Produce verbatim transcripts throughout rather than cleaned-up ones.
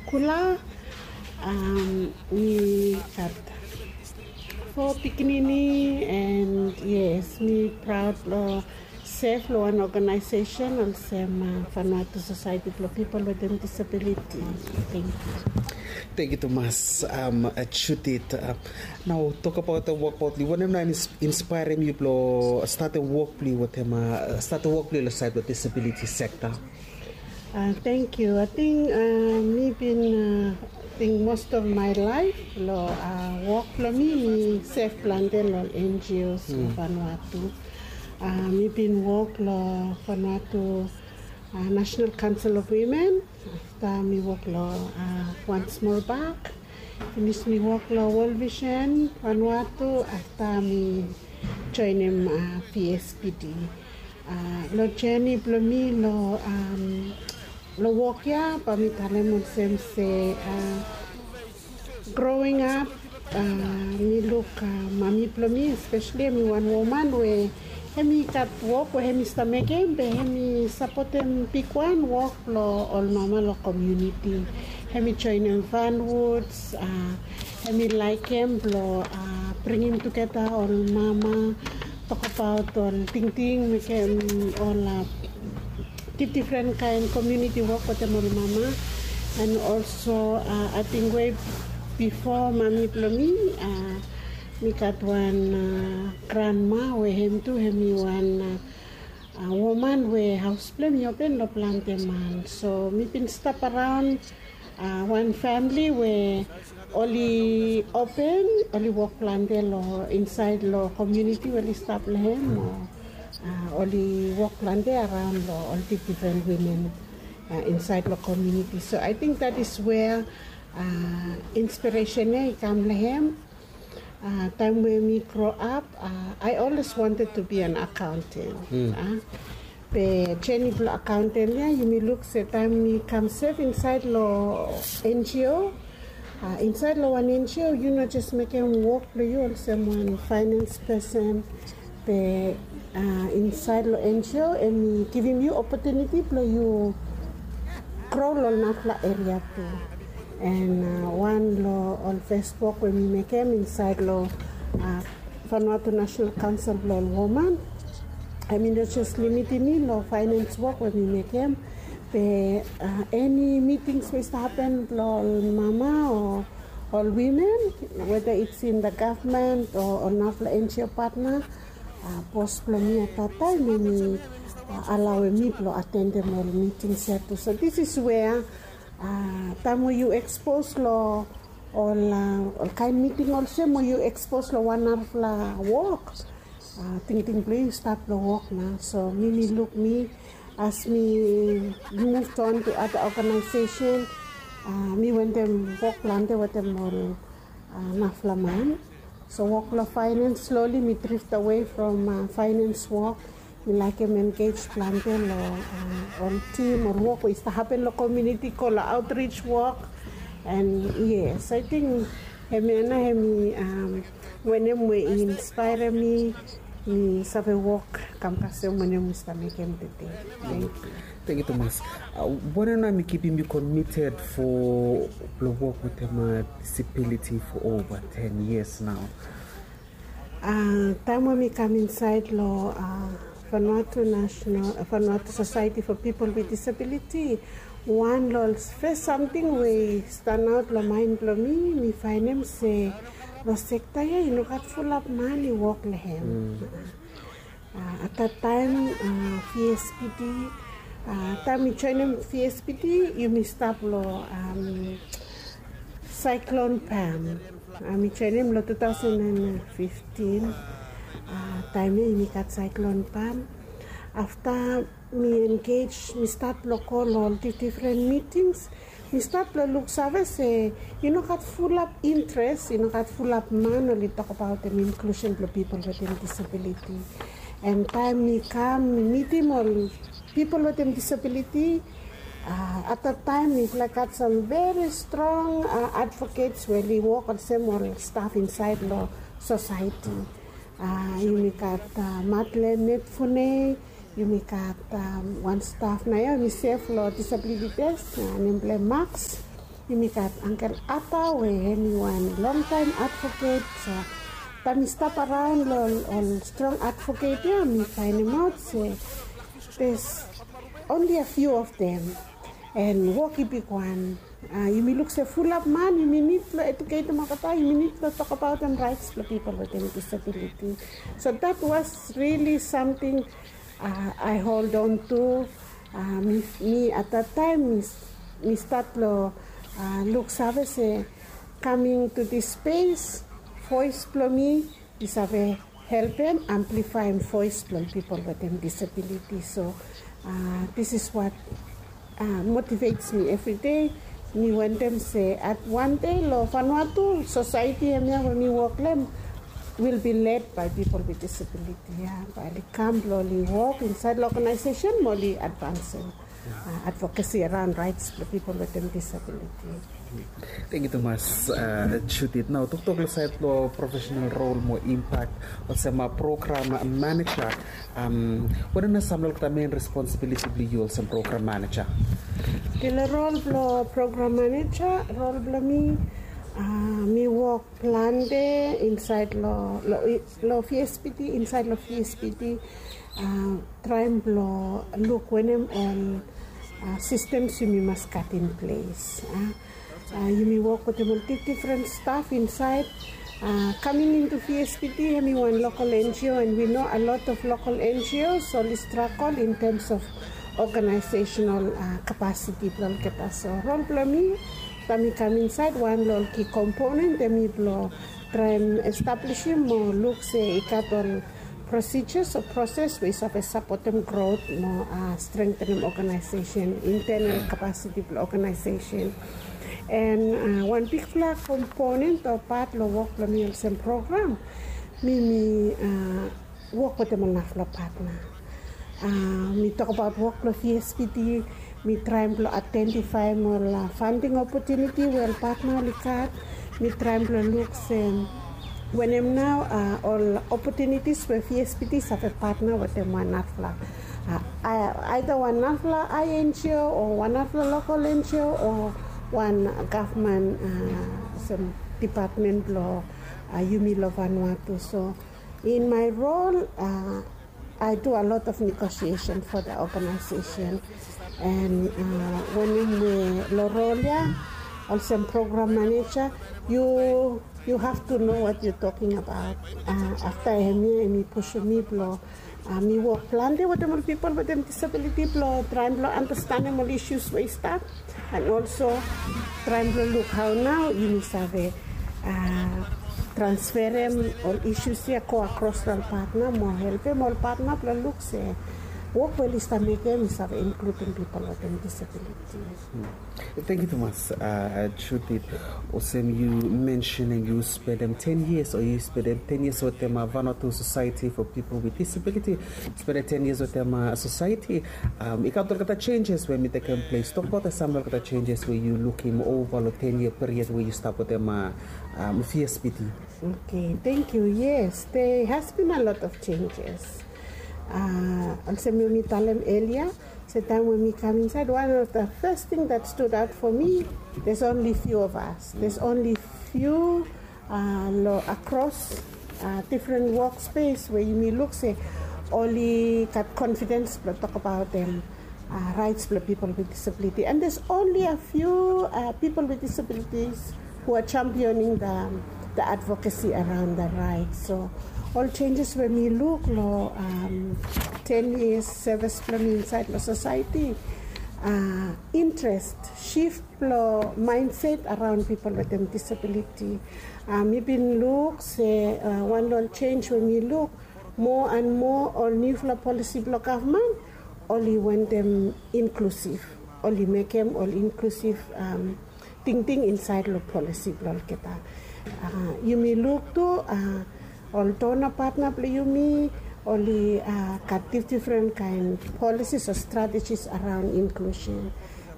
Kula. Mi gat fo pikinini, and yes, mi praod long sef long wan organization olsem Vanuatu Society blong Pipol wetem Disabiliti. Thank you. Thank you tumas, Judith. Nao tokbaot wok blong yu, wanem nao i inspaerem yu blong statem wok blong yu wetem, statem wok blong yu long saed blong disabiliti sekta? Thank you. Ating mi bin, ating most of my life long wok blong mi, mi sef plante long N G Os long Vanuatu. Mi bin wok long Vanuatu National Council of Women. Afta mi wok long One Small Bag. Finis mi wok long World Vision Vanuatu. Afta mi joenem V S P D. Long jeni blong mi long wok ya, bae mi talem olsem se, growing up, mi luk mami blong mi, especially hemi wan woman we hemi gat wok we hemi stap mekem, be hemi sapotem bigwan wok blong ol mama long komuniti. Hemi joenem Van Woods, hemi laekem blong bringim tugeta ol mama, tokbaot ol tingting, mekem ol difdifren kaen komuniti wok wetem ol mama. And also ating we bifo mami blong mi, mi gat wan granma we hem tu hemi wan woman we haos blong hem i open long plante man. So mi bin stap araon wan famili we oli open, oli wok plante long insaed long komuniti we oli stap long hem, o oli wok plante araon long ol difdifren wimen insaed long komuniti. So ating that is where inspiresen ya i kam long hem. Taem we mi grow up, I always wanted to be an accountant. Be jeni blong accountant ya, yumi luk se taem mi kam sef insaed long N G O, insaed long wan N G O yu no jes mekem wok blong yu olsem wan finance person, be insaed long N G O hemi givim yu opotuniti blong yu grow long narafala eria tu. And wan long ol fes wok we mi mekem insaed long Vanuatu National Council blong ol woman, hemi no jes limitim mi long finance wok we mi mekem, be eni mitings we i stap hapen blong ol mama o ol wimen, whether it's in the government o ol narafala N G O partner, bos blong mi at that time hemi alaoem mi blong atendem ol mitings ya tu. So this is where taem we yu ekspos long ol kaen miting olsem, we yu ekspos long wan narafala wok, tingting blong yu i stap long wok nao. So mi, mi luk mi, as mi move on to other organization, mi wetem wok plante wetem ol narafala man. So wok long finance, slowly mi drift away from finance wok. Mi laekem engage plante long ol team, ol wok we i stap hapen long komuniti, go long outreach wok. And yes, ating hemia nao hemi wanem we i inspaerem mi, mi save wok kam kasem wanem mi stap mekem tede. Thank you. Thank you tumas. Wanem nao hemi kipim yu committed for blong wok wetem disability for over ten years nao? Taem we mi kam insaed long Vanuatu National, Vanuatu Society for People with Disability, wan long ol fes samting we i stanaot long maen blong mi, mi faenem se long sekta ya i no gat fulap man i wok long hem. At that time V S P D, taem mi joenem V S P D yumi stap long Cyclone Pam. Mi joenem long two thousand and fifteen. Taem ya yumi gat Cyclone Pam. Afta mi engage, mi stat blong go long ol difdifren mitings. Mi stat blong luksave se i no gat fulap interes, i no gat fulap man oli tokbaot inclusion blong pipol wetem disabiliti. And taem mi kam mi mitim ol pipol wetem disabiliti, at that time mifala i gat sam very strong advocates we oli wok olsem ol staf insaed long Sosaeti. Yumi gat Madeleine Netfune, yumi gat wan staf naoia hemi sef long Disability Desk, nem blong hem Max. Yumi gat Uncle Ata we hemi wan longtaem advoket. So taem mi stap araon long ol strong advoket ya, mi faenemaot se there's only a few of them. And wok i bigwan. Yumi luk se fulap man yumi nid blong eduketem olgeta, yumi nid blong tokbaotem raets blong pipol wetem disabiliti. So that was really samting I hold on to. Mi at that taem mi stat long luksave se kaming to this space, voes blong mi i save helpem amplifaem voes blong pipol wetem disabiliti. So this is what motivates mi evri dei. Mi wantem se at wan dei long Vanuatu sosaeti hemia we mi wok long hem will be led by pipol with disabiliti ya, bae oli kam blong oli wok insaed long ogenaesesen mo oli advansem advokesi araon raets blong pipol wetem disabiliti. Tangkiu tumas Judith. Nao toktok long saed blong profesenal rol mo impak olsem program maneja, wanem nao sam long olgeta men responsibiliti blong yu olsem program maneja? Long rol blong program maneja, rol blong mi, mi wok plante insaed long long V S P T, insaed long V S P T, traem blong luk wanem ol sistems yumi mas gat in ples. Yumi wok wetem ol difdifren staf insaed. Kaming into V S P T hemi wan lokol N G O, and we know a lot of lokol N G Os oli stragol in tems of ogenaesesenal kapasiti blong olgeta. So rol blong mi taem mi kam insaed, wan long ol ki komponen hemi blong traem establisim o luk se i gat ol prosijas o proses we i save sapotem grot mo strengtenem ogenaesesen, intenal kapasiti blong ogenaesesen. And wan bigfala komponen o pat long wok blong mi olsem program, mi mi wok wetem ol narafala patna. Mi tokbaot wok blong V S P T, mi traem blong aedentifaem ol fanding opotuniti we ol patna oli gat. Mi traem blong luk se wanem nao ol opotunitis we V S P T i save patna wetem wan narafala, aeda wan narafala I N G O o wan narafala lokol N G O o wan gavman olsem dipatmen blong yumi long Vanuatu. So in my role, I do a lot of negotiation for the organization. And wanem we long rol ya olsem program maneja, you you have to know what you're talking about. Afta hemia hemi pusum mi blong mi wok plante wetem ol pipol wetem disabiliti blong traem blong andastanem ol isus we i stap. And also traem blong luk hao nao yumi save transferem ol isus ya go akros long ol patna mo helpem ol patna blong luk se wok we oli stap mekem i save inkludim pipol wetem disabiliti. Tangkiu tumas Judith. Olsem yu mensenem yu spendem ten years o yu spendem ten years wetem Vanuatu Society for People with Disability. Spendem ten years wetem sosaeti. I gat olgeta changes we mi tekem ples. Tokbaot sam long olgeta changes we yu lukim ova long ten year period we yu stap wetem V S P T. Okay, thank you. Yes, there has been a lot of changes. Olsem we mi talem earlier, se taem we mi kam insaed, one of the first thing that stood out for me, there's only few of us. There's only few long akros difren wok spes we yumi luk se oli gat confidence blong tokbaotem raets blong pipol with disability. And there's only a few people with disabilities who are championing the, the advocacy around the rights. So ol changes we mi luk long ten years service blong mi insaed long sosaeti, interest shift blong mindset araon pipol wetem disabiliti. Mi bin luk se wan long ol change we mi luk, moa and moa ol niufala polisi blong gavman oli wantem inklusiv. Oli mekem ol inklusiv tingting insaed long polisi blong olgeta. Yumi luk tu ol dona patna blong yumi oli gat difdifren kaen polisis o strategis araon inklusen.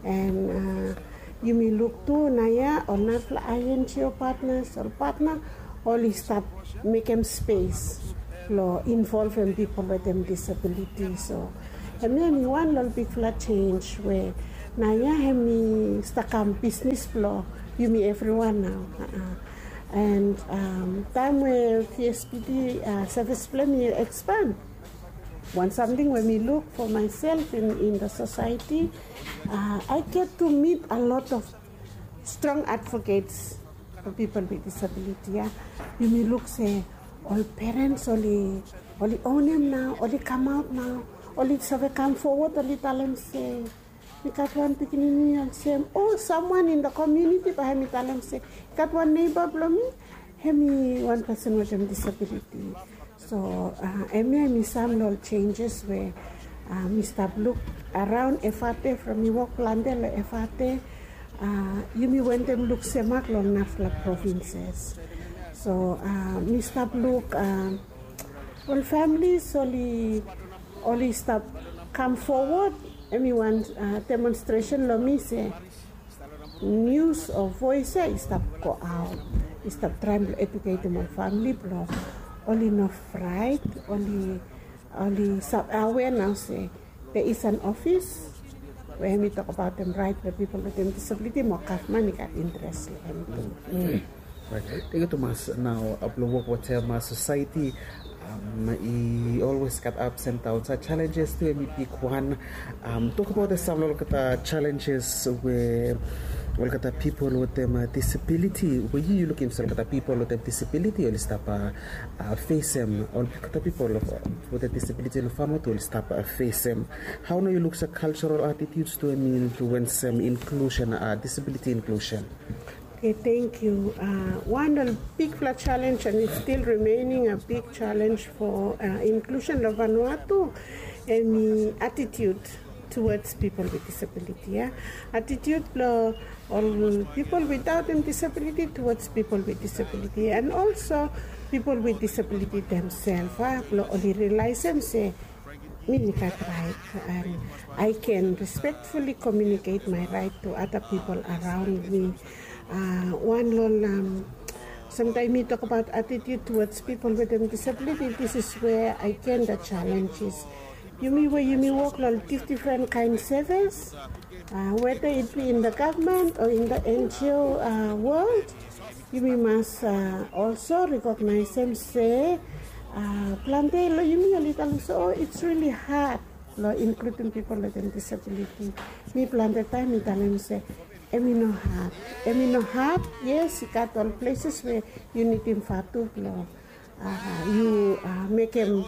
And yumi luk tu naoia ol narafala I N G O patnas, ol patna oli stap mekem spes blong involvem pipol wetem disabiliti. So hemia hemi wan long ol bigfala change we Naoia hemi stap kam bisnis blong yumi evriwan nao. And taem we PSPT sevis blong hem i ekspan, wan samting we mi luk fo maesel in the society, I get to meet a lot of strong advocates for people with disability ya. Yumi luk se ol perens oli onem nao, oli kamaot nao, oli save kam fowod, oli talem se mi gat wan pikinini olsem, o samwan in the community bae hemi talem se i gat wan neiba blong mi, hemi wan pesen wetem disabiliti. So hemia hemi sam long ol senjes we mi stap luk araon Efate, from mi wok plante long Efate. Yumi wentem luk semak long narafala provinses. So mi stap luk ol familis oli oli stap kam fowod. Hemi wan demonstresen long mi se nius o voes ya i stap go aot, i stap traem blong eduketem ol famili blong oli no fraet, oli oli stap awea nao se there is an ofis we hemi tokbaotem raet blong pipol wetem disabiliti mo gavman i gat interes long hem tu. Tangkiu tumas. Nao blong wok wetem sosaeti i olwes gat ups and downs, a challenges tu hemi bigwan. Tokbaot sam long olgeta challenges we olgeta pipol wetem disabiliti we yu yu lukim se olgeta pipol wetem disabiliti oli stap fesem, olgeta pipol wetem disabiliti long Vanuatu oli stap fesem. Hao nao yu luk se cultural attitudes tu hemi influensem inclusion, disability inclusion? Okay, thank you. One of the bigfala challenge, and it's still remaining a big challenge for inclusion long Vanuatu, hemi attitude towards people with disability ya. Attitude blong ol pipol without disability towards people with disability, and also people with disability themselves, blong oli realisem se mi gat raet, and I can respectfully communicate my right to other people around me. Wan long samtaem mi tokbaot attitude towards people wetem disabiliti, this is where again the challenge is. Yumi we yumi wok long difdifren kaen sevis, whether it be in the government or in the NGO world, yumi mas also recognize-em se plante long yumi oli talem se, oh, it's really hard long including people wetem disability. Mi plante taem mi talem se hemi no had, hemi no had. Yes, i gat ol places we yu nidim vatu blong yu mekem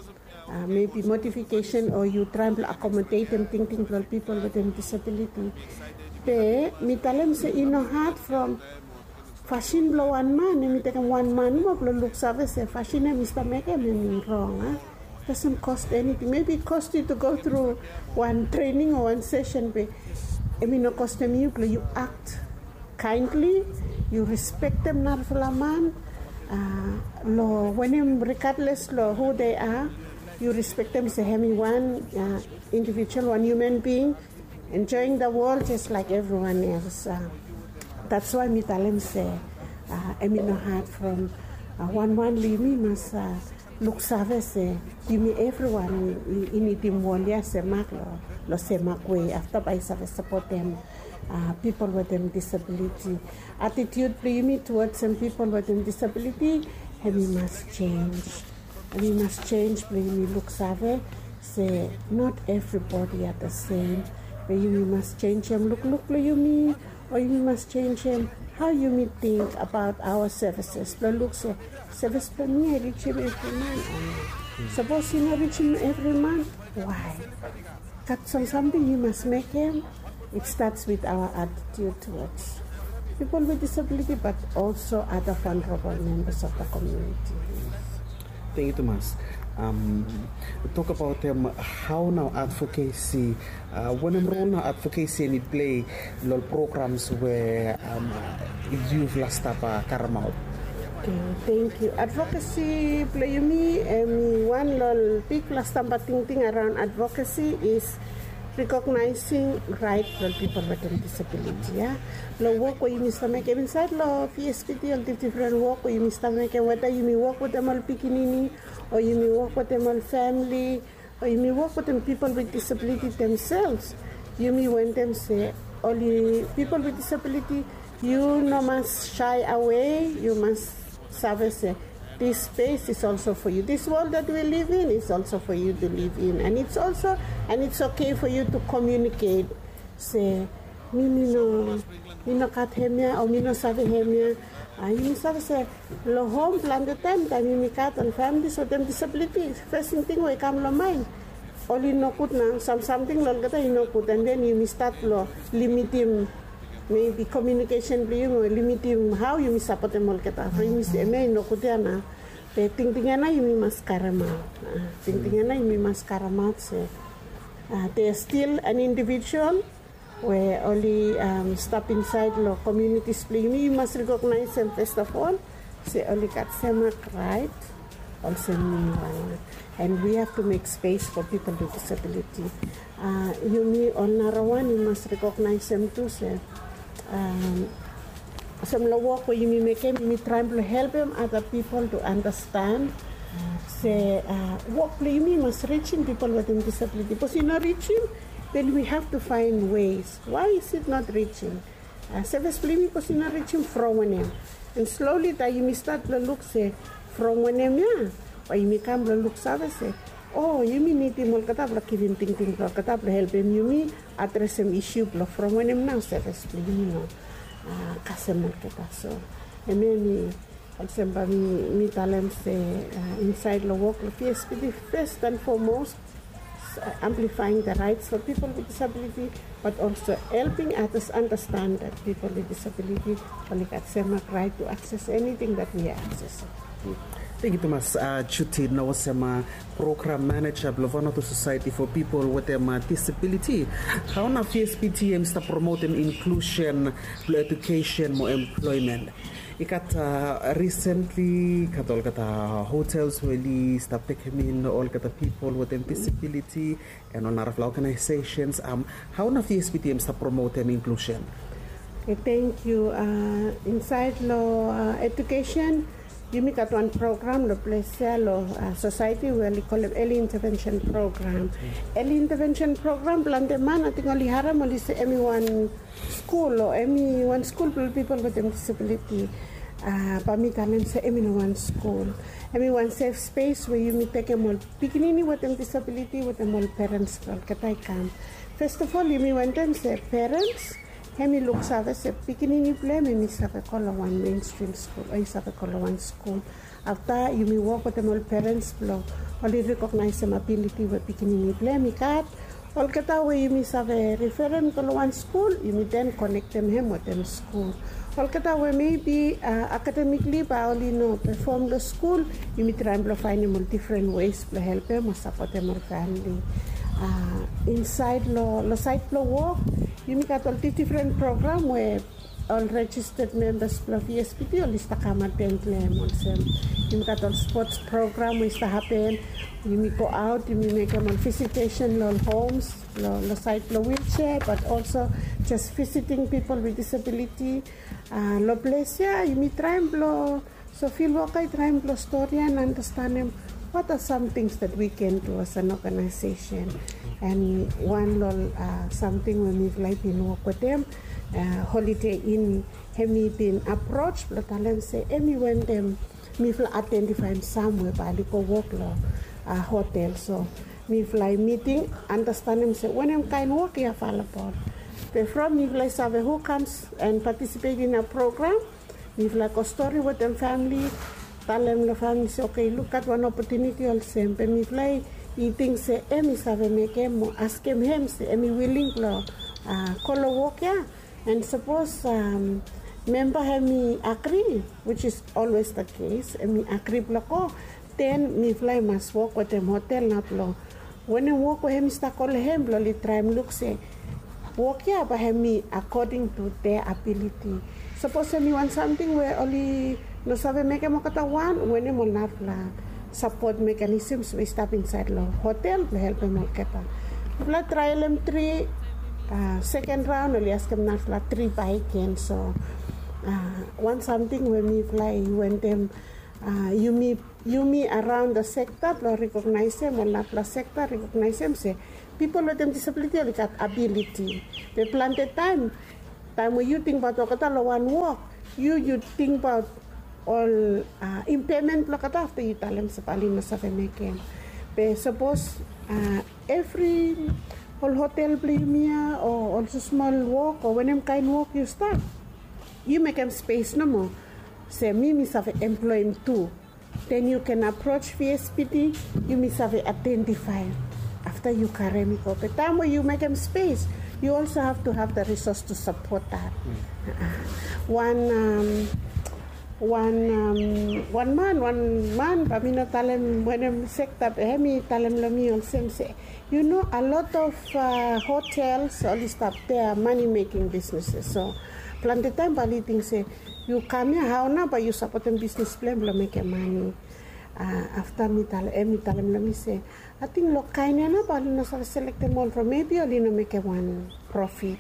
maybe modification o yu traem blong accommodatem tingting blong ol pipol wetem disability. Be mi talem se i no had from fasin blong wan man, hemi tekem wan man moa blong luksave se fasin ya mi stap mekem hemi rong. Doesn't cost anything. Maybe it cost you to go through wan training o wan session, be hemi no kostem yu blong yu act kindly, yu respektem narafala man long wanem, regardless long who they are, yu respektem se hemi wan individual, wan human being enjoying the world just like everyone else. That's why mi talem se hemi no had from wan wan long yumi mas luksave se yumi evriwan i nidim wol ya semak long semak wei, afta bae i save sapotem pipol wetem disabiliti. Attitude blong yumi towards pipol wetem disabiliti hemi mas jenis. Hemi mas jenis blong yumi luksave se not everybody are the same. Be yumi mas jenisem lukluk blong yumi, o yumi mas jenisem hao yumi ting abaot aoa sevises blong luk se sevis blong mi i rijim evri man o no. Sapos i no rijim evri man, wae? Gat sam samting yu mas mekem. It starts with our attitude towards people with disability, but also other vulnerable members of the community. Tangkiu tumas. Tokbaotem hao nao advocacy, wanem rol nao advocacy hemi plei long ol programs we yufala stap karemaot? Tangkiu. Advocacy blong yumi hemi wan long ol bigfala stamba tingting araon advocacy is recognizing right blong ol pipol wetem disabiliti ya. Long wok we yumi stap mekem insaed long PSPT, ol difdifren wok we yumi stap mekem, weda yumi wok wetem ol pikinini o yumi wok wetem ol famili o yumi wok wetem pipol with disability themselves, yumi wantem se Oli pipol with disability, yu no mas shy away, yu mas save se this space is also for you. This world that we live in is also for you to live in, and it's also and it's okay for you to communicate. Se mi mi no mi no gat hemia o mi no save hemia. Yumi save se long hom plante taem taem yumi gat ol families wetem disability, fes ting we i kam long mind oli nogud nao, sam samting long olgeta i nogud, and then yumi stat long limitim maybe communication blong yumi o limitim hao yumi sapotem olgeta. From yumi se hemia i nogud ya nao. Be tingting ya nao yumi mas karemaot. Tingting ya nao yumi mas karemaot se they are still an individual we oli stap insaed long communities blong yumi, yu mas recognize em first of all se oli gat semak right olsem mi wan. And we have to make space for people with disability. Yumi ol narawan yu mas recognize em tu se olsem long wok we yumi mekem yumi traem blong helpem other people to understand se wok blong yumi mas reaching people wetem disability. Bikos i no reaching, then we have to find ways. Why is it not reaching? Sevis blong yumi bikos i no reaching from wanem? And slowly taem yumi stat blong luk se from wanem ya, bae yumi kam blong luksave se o yumi nidim olgeta blong givim tingting blong olgeta blong helpem yumi adresem isu blong from wanem nao sevis blong yumi no kasem olgeta. So hemia mi olsem bae mi talem se insaed long wok long PSPT, first and foremost amplifying the rights for people with disability, but also helping others understand that people with disability oli gat semak right to access anything that we are accessing. Thank you tumas. Judy, nao olsem program manager blong Vanuatu Society for People wetem Disability, hao nao PSPT em i stap promotem inclusion blong education mo employment? I gat recently i gat olgeta hotels we oli stap tekem in olgeta people wetem disability and ol narafala organizations. Hao nao PSPT em i stap promotem inclusion? Thank you. Insaed long education yumi gat wan program long ples ya long society we oli kolem early intervention program. Early intervention program plante man ating oli harem oli se em i wan skul o em i wan skul blong ol pipol wetem disabiliti. Bae mi talem se em i no wan skul, em i wan sef spes we yumi tekem ol pikinini wetem disabiliti wetem ol perens blong olgeta i kam. Fes of ol yumi wantem se perens hem i luksave se pikinini blong hem hem i save go long wan mainstrim skul o i save go long wan skul. Afta yumi wok wetem ol perens blong oli rekognaesem abiliti we pikinini blong hem i gat. Olgeta we yumi save referem go long wan skul yumi den konektem hem wetem skul. Olgeta we mebi akademikli bae oli no pefom long skul, yumi traem blong faenem ol difren wes blong helpem o sapotem ol famili. Insaed long saed blong wok yumi gat ol difdifren program we ol rejisted membas blong VSPT oli stap kam aten blong hem olsem yumi gat ol spots program we i stap hapen. Yumi go aot yumi mekem ol visitesen long ol homes long saed blong wilsea, bat olso jes visiting pipol with disabiliti. Long ples ya yumi traem blong so fil woka i traem blong stori ya and andastanem what are some tings that we can do as an organization. And wan long ol samting we mifala i bin wok wetem Holiday Inn, hem i bin aproj blong talem se hem i wantem mifala aidentifaem sam we bae oli go wok long hotel. So mifala i miting, andastanem se wanem kaen wok i avelabol. Be from mifala i save hu kams and patisipet in a program, mifala i go stori wetem famili, talem long famili se oke, lukat wan opotuniti olsem. Be mifala i ting se hem i save mekem mo askem hem se hem i wiling blong go long wok ya. And sapos memba hem i agri, which is always the case, hem i agri blong go, den mifala i mas wok wetem hotel nao blong wanem wok we hem i stap go long hem blong oli traem luk se wok ya bae hem i according to their ability. Sapos hem i wan samting we oli no save mekem olgeta wan, wanem ol narafala sapot mekanisems we i stap insaed long hotel blong helpem olgeta. Mifala traelem tri, seken raon oli askem narafala tri bakegen. So wan samting we mifala i wantem Yumi, yumi araon da sekta blong rekognaesem ol narapela sekta rekognaesem se pipol wetem disabiliti oli gat abiliti. Be plante taem taem we yu tingbaot olgeta long wan wok, yu yu tingbaot ol impairment blong olgeta afta yu talem se bae oli no save mekem. Be sapos evri ol hotel blong yumi ya o ol smol wok o wanem kaen wok yu stap, yu mekem spes nomo se mi mi save emploem tu. Den yu ken aproach V S P D, yumi save aidentifae afta yu karem i go. Be taem we yu mekem spes, yu also have to have the resource to support that. Wan wan wan man wan man bae mi no talem wanem sekta be hem i talem long mi olsem se, yu no, a lot of hotels oli stap, they are money making businesses. So plante taem bae oli ting se yu kam ya, hao nao bae yu sapotem bisnis blong hem blong mekem mane. Afta mi talem, hem i talem long mi se, ating long kaen ya nao bae oli no save selektem ol from, maybe oli no mekem wan profit.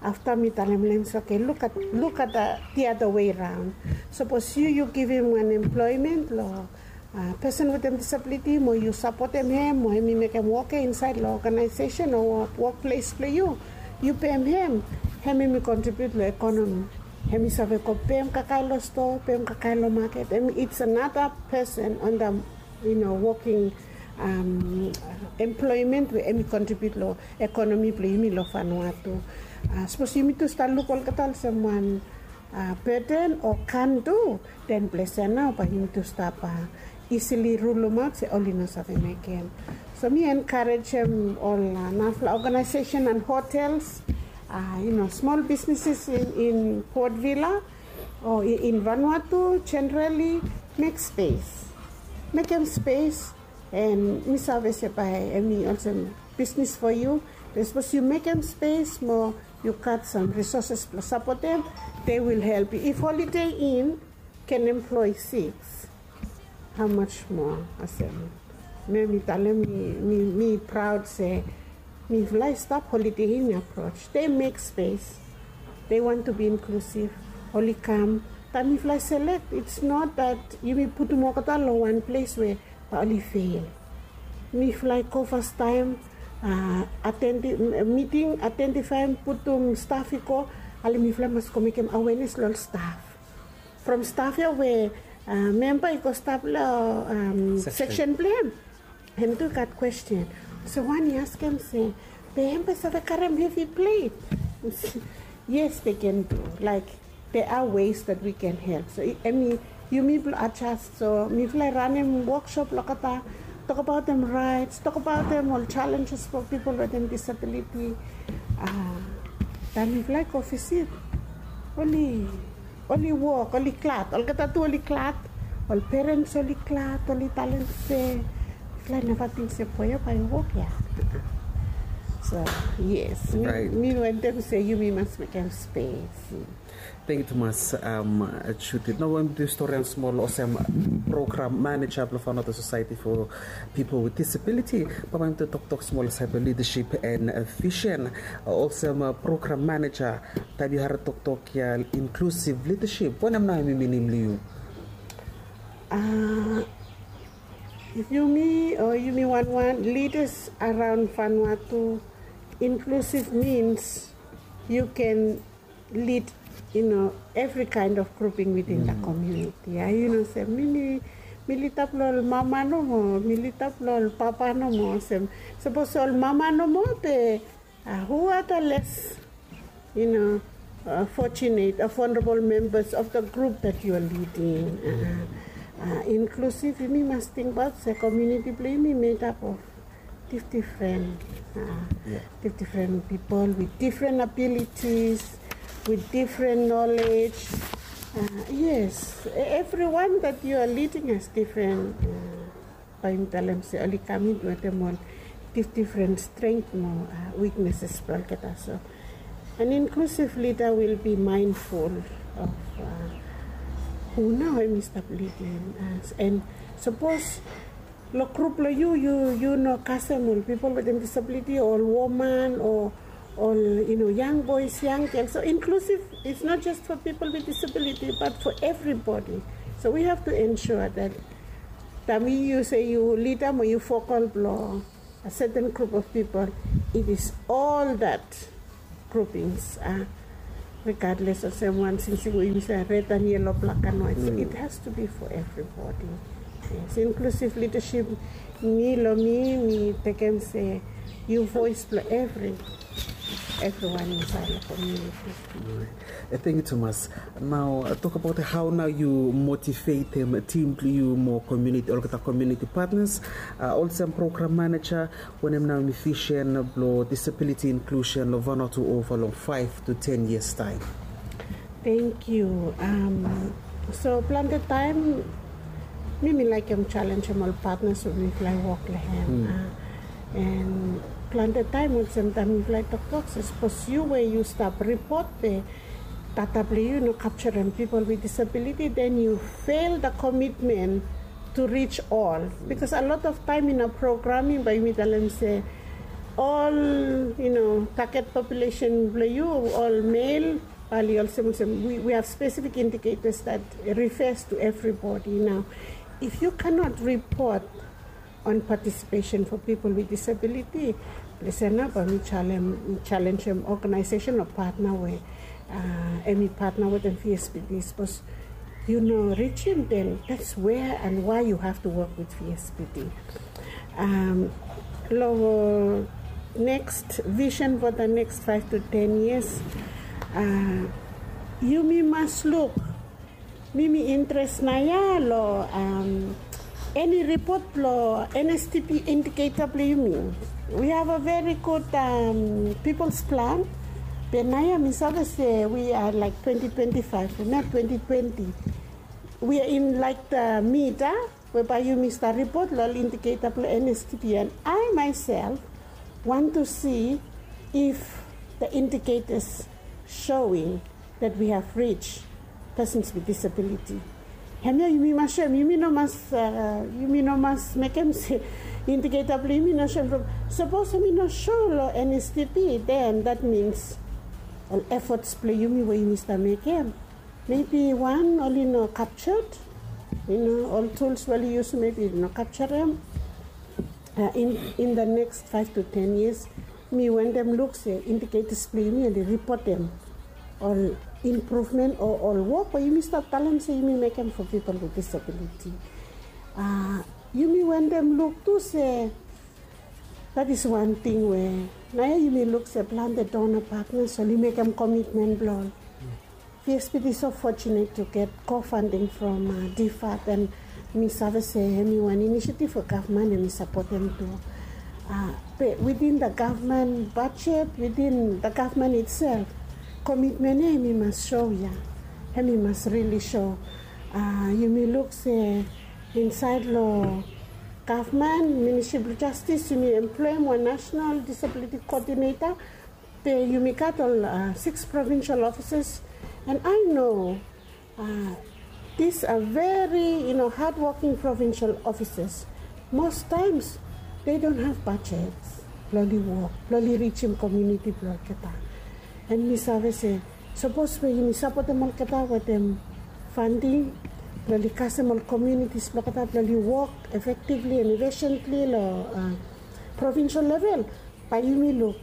Afta mi talem long hem se, okay, look at, look at the other way round. Sapos yu yu givim wan employment long pesen wetem disabiliti mo yu sapotem hem mo hem i mekem wok ya insaed long oganaesesen o wokples blong yu, yu pem hem, hem hem i kontribiut long ekonomi. Hem i save go pem kakae long stoa, pem kakae long maket. Hem, it's another person on the, you know, woking employment we hem i kontribiut long ekonomi blong yumi long Vanuatu. Sapos yumi tu stap luk olgeta olsem wan burden o kan du, den ples ya nao bae yumi tu stap isili rulumaot se oli no save mekem. So mi enkarejem ol narafala oganaesesen and hotels, you know, smol bisneses in Port Vila o in Vanuatu generally, mek spes. Mekem spes, and mi save se bae hem i olsem bisnis for yu. Be sapos yu mekem spes mo yu gat sam risoses blong sapotem, they will help you. If Holiday Inn can employ six, how much more? Olsem mi mi talem, mi mi praod se mifala i stap Holiday Inn approach. They make space. They want to be inclusive. Oli kam. Taem mifala i selek, it's not that yumi putum olgeta long wan ples we bae oli fail. Mifala i go fastaem, atendi miting, atendifaem, putum staf i go. Ale mifala mas go mekem awenes long ol staf. From staf ya we memba i go stap long seksen blong hem, hem tu i gat kwesten. So wan i askem se, be hem bae save karem hevi plet? Yes, they can do. Like, there are ways that we can help. So em i, yumi blong adjust. So mifala i ranem woksop long olgeta, tokbaotem rights, tokbaotem ol challenges for people wetem disability. Taem mifala i go visit, oli oli wok, oli glad. Olgeta tu oli glad. Ol perens oli glad, oli talem se, mifala i neva ting se boe ya bae i wok ya. So yes, mi wantem se yumi mas mekem spes. Tangkiu tumas, Judith. Nao we yumi tu storian smol olsem program maneja blong Vanuatu Society for People with Disability, bae yumi tu toktok smol olsem leadership and vision. Olsem program maneja, taem yu harem toktok ya inclusive leadership, wanem nao hem i minim long yu? Yumi o yumi wanwan leaders around Vanuatu, inclusive means you can lead, you know, every kind of grouping within the community. Ya, yu no se mi, mi lida blong ol mama nomo, mi lida blong ol papa nomo. Olsem sapos ol mama nomo, be who are the less, you know, fortunate or vulnerable members of the group that you are leading? Inclusive, yumi mas tingbaot se komuniti blong yumi made up of dif-, different, dif-, different people with different abilities, with different knowledge. Yes, everyone that you are leading has different, bae mi talem se oli kam in wetem ol dif-, different strength mo weaknesses blong olgeta. So an inclusive leader will be mindful of who nao hem i stap leading. And sapos long grup blong yu, yu no kasem ol pipol wetem disabiliti, ol woman o ol, you know, young boys, young girls. So inclusive is not just for people with disability, but for everybody. So we have to ensure that taem yu se yu lida mo yu vocal blong a certain group of people, it is all that groupings, uh, regardless of someone since we use a red and yellow, black and white. So it has to be for everybody. Yes, inclusive leadership, mi lo mi, mi tekem se yu voice blong every, everyone inside the community. Thank you, Thomas. Now, uh, talk about how now you motivate them, team you more community, olgeta community partners, uh, also program manager, wanem nao hemi vision blong disability inclusion long Vanuatu ova long five to ten years time? Thank you. Um, so plante taem mi mi laekem challenge ol partners we mifala i wok long hem. Uh, and plante taem olsem taem mifala i toktok se sapos yu we yu stap ripot be data blong yu no kapturem people with disability, then you fail the commitment to reach all. Because a lot of time in a programming bae yumi talem se ol, you know, target population blong yu ol male, bae oli olsem olsem we, we have specific indicators that refers to everybody. Now, if you cannot report on participation for people with disability, listen up, bae mi challenge, challenge em organization o partner we, uh, hemi partner wetem V S P D. Sapos yu no reach him, then that's where and why you have to work with V S P D. Um, long next vision for the next five to ten years, uh, yumi mas luk, mi mi interest naoia long, um, eni ripot blong N S T P indicator blong yumi. We have a very good, um, people's plan. Be naoia mi save se we are like twenty twenty-five, we not twenty twenty. We are in like the mid, ah, we bae yumi stap ripot long ol indicator blong N S T P, and I myself want to see if the indicators showing that we have reached persons with disability. Hemia yumi mas show, yumi no mas, uh, yumi no mas mekem se indicator blong yumi no show from, sapos yumi no show long N S T P, then that means ol efforts blong yumi we yumi stap mekem, maybe wan, oli no captured, you know, ol tools we oli yusum maybe no capture em. Uh, in, in the next five to ten years, mi wantem luk se indicators blong yumi oli ripotem ol improvement o ol wok we yumi stap talem se yumi mekem for people with disability. Uh, yumi wantem luk tu se that is one thing we naoia yumi luk se plante donor partners oli mekem commitment blong ol. V S P D is so fortunate to get co-funding from, uh, D fund, and mi save se hemi wan initiative we gavman hemi sapotem tu. Uh, be within the government budget, within the government itself, commitment ia hemi mas show ia. Hemi mas really show. Uh, yumi luk se insaed long gavman, Ministry blong Justice, yumi emploem wan national disability coordinator. Be yumi gat ol, uh, six provincial offices, and I know, uh, these are very, you know, hardworking provincial offices. Most times they don't have budgets blong oli wok blong oli rijim community blong olgeta. And mi save se sapos we yumi sapotem olgeta wetem funding blong oli kasem ol communities blong olgeta blong oli wok effectively and efficiently long, uh, provincial level, bae yumi luk,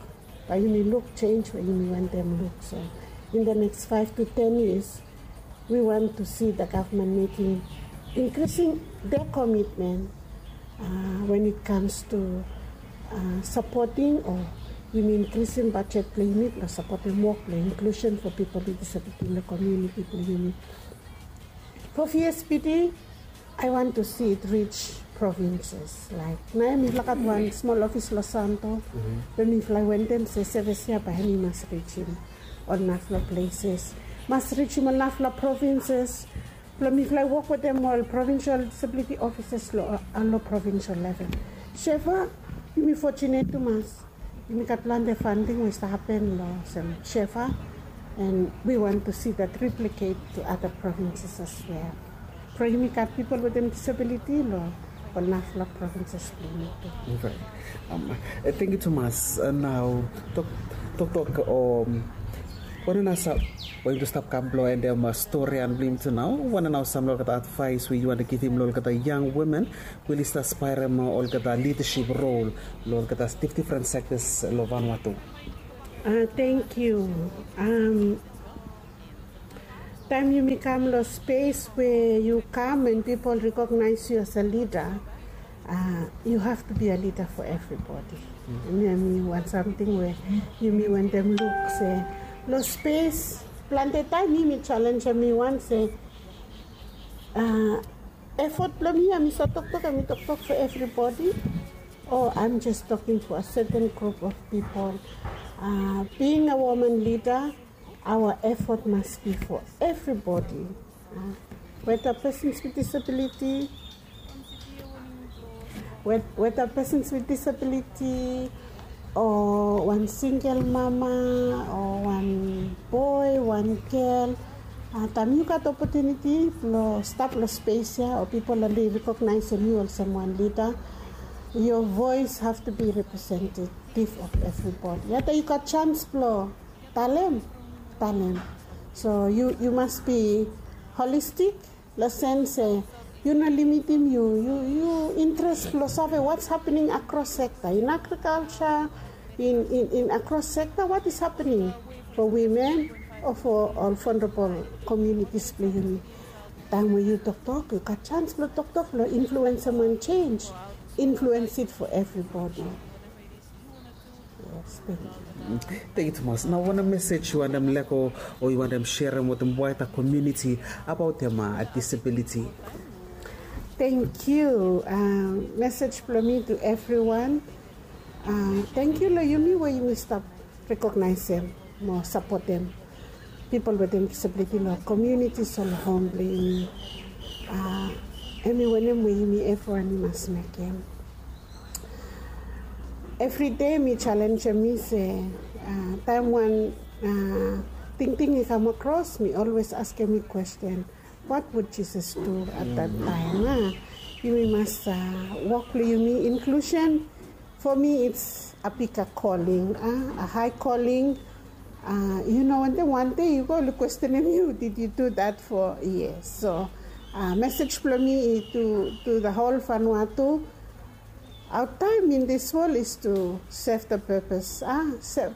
bae yumi luk change we yumi wantem luk. So in the next five to ten years, we want to see the government making, increasing their commitment, uh, when it comes to, uh, supporting o yumi increasing budget blong yumi blong sapotem wok blong inclusion for people with disability in the community blong yumi. For V S P D, I want to see it reach provinces. Like naoia mifala gat wan smol office long Santo, be mifala wantem se service ia bae hemi mas rijim ol narafala places, mas rijim ol narafala provinces. Blong mifala wok wetem ol provincial disability offices long, uh, long provincial level. Shefa, yumi fortunate tumas. Yumi gat plante funding we i stap hapen long olsem Shefa, and we want to see that replicate to other provinces as well. Blong yumi gat people wetem disability long ol narafala provinces blong yumi tu. Thank you tumas. Nao toktok, um, Wanem nao sam we yumi tu stap kam blong endem storian blong yumi tu nao? Wanem nao sam long olgeta advaes we yu wantem givim long olgeta yang wimen we oli stap spaerem olgeta lidasip rol long olgeta difdifren sektas long Vanuatu? Thank you. Taem yumi kam long spes we yu kam and pipol rekognaes yu as a lida, yu have to be a lida fo evribodi. Em ya mi wan samting we yumi wantem luk se long spes plante taem mi mi jalenjem mi wan se efot blong mi ya mi save toktok ya mi toktok fo evribodi, o aem jes toking fo a seten grup of pipol. Bing a woman lida, aoa efot mas bi fo evribodi, weta pesens wit disabiliti, weta pesens wit disabiliti, o wan singel mama, o wan boe, wan gel. Taem yu gat opotuniti blong stap long spes ya o pipol oli rekognaesem yu olsem wan lida, yo voes have to be represented tif of evribodi ya taem yu gat jans blong talem, talem. So yu mas bi holistik long sens se yu no limitim yu, yu interes blong save wats hapening akros sekta in agrikalja, in akros sekta wat is hapening fo wimen o fo ol vonrabol komiunitis blong yumi. Taem we yu toktok yu gat jans blong toktok blong influensem wan jenj, influens it fo evribodi. Tengkiu tumas. Nao wanem mesej yu wantem lego o yu wantem serem wetem waeta komiuniti abaotem disabiliti? Tengkiu. Mesej blong mi tu evriwan. Tengkiu long yumi we yumi stap rekognaesem mo sapotem pipol wetem disabiliti long komiunitis o long hom blong yumi. Em i wanem we yumi evriwan i mas mekem. Evride mi jalenjem mi se taem wan tingting i kam akros mi olwes askem mi kwesten, wat wud Jisas du at dat taem? Yumi mas wok blong yumi inklusen. Fo mi it's a bika koling, a hae koling. Yu no wantem wan dei yu go oli kwestenem yu did yu du dat fo yes. So mesej blong mi i tu tu da hol Vanuatu. Aotaem in dis wol is tu sef da pepes.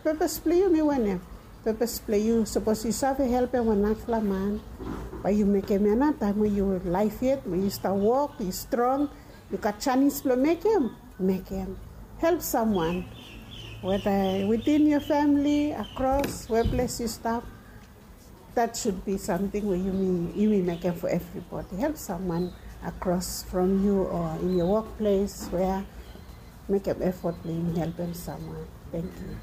Pepes blong yu mi wanem? Pepes blong yu sapos yu save helpem wan narafala man, bae yu mekem ya nao taem we yu laef yet we yu stap wok yu strong, yu gat janis blong mekem, mekem. Help samwan, weta witin yo famili akros weples yu stap. Dat sud bi samting we yumi mekem fo evribodi. Help samwan akros from yu o in yo wokples we mekem efot blong yumi helpem samwan. Tengkiu.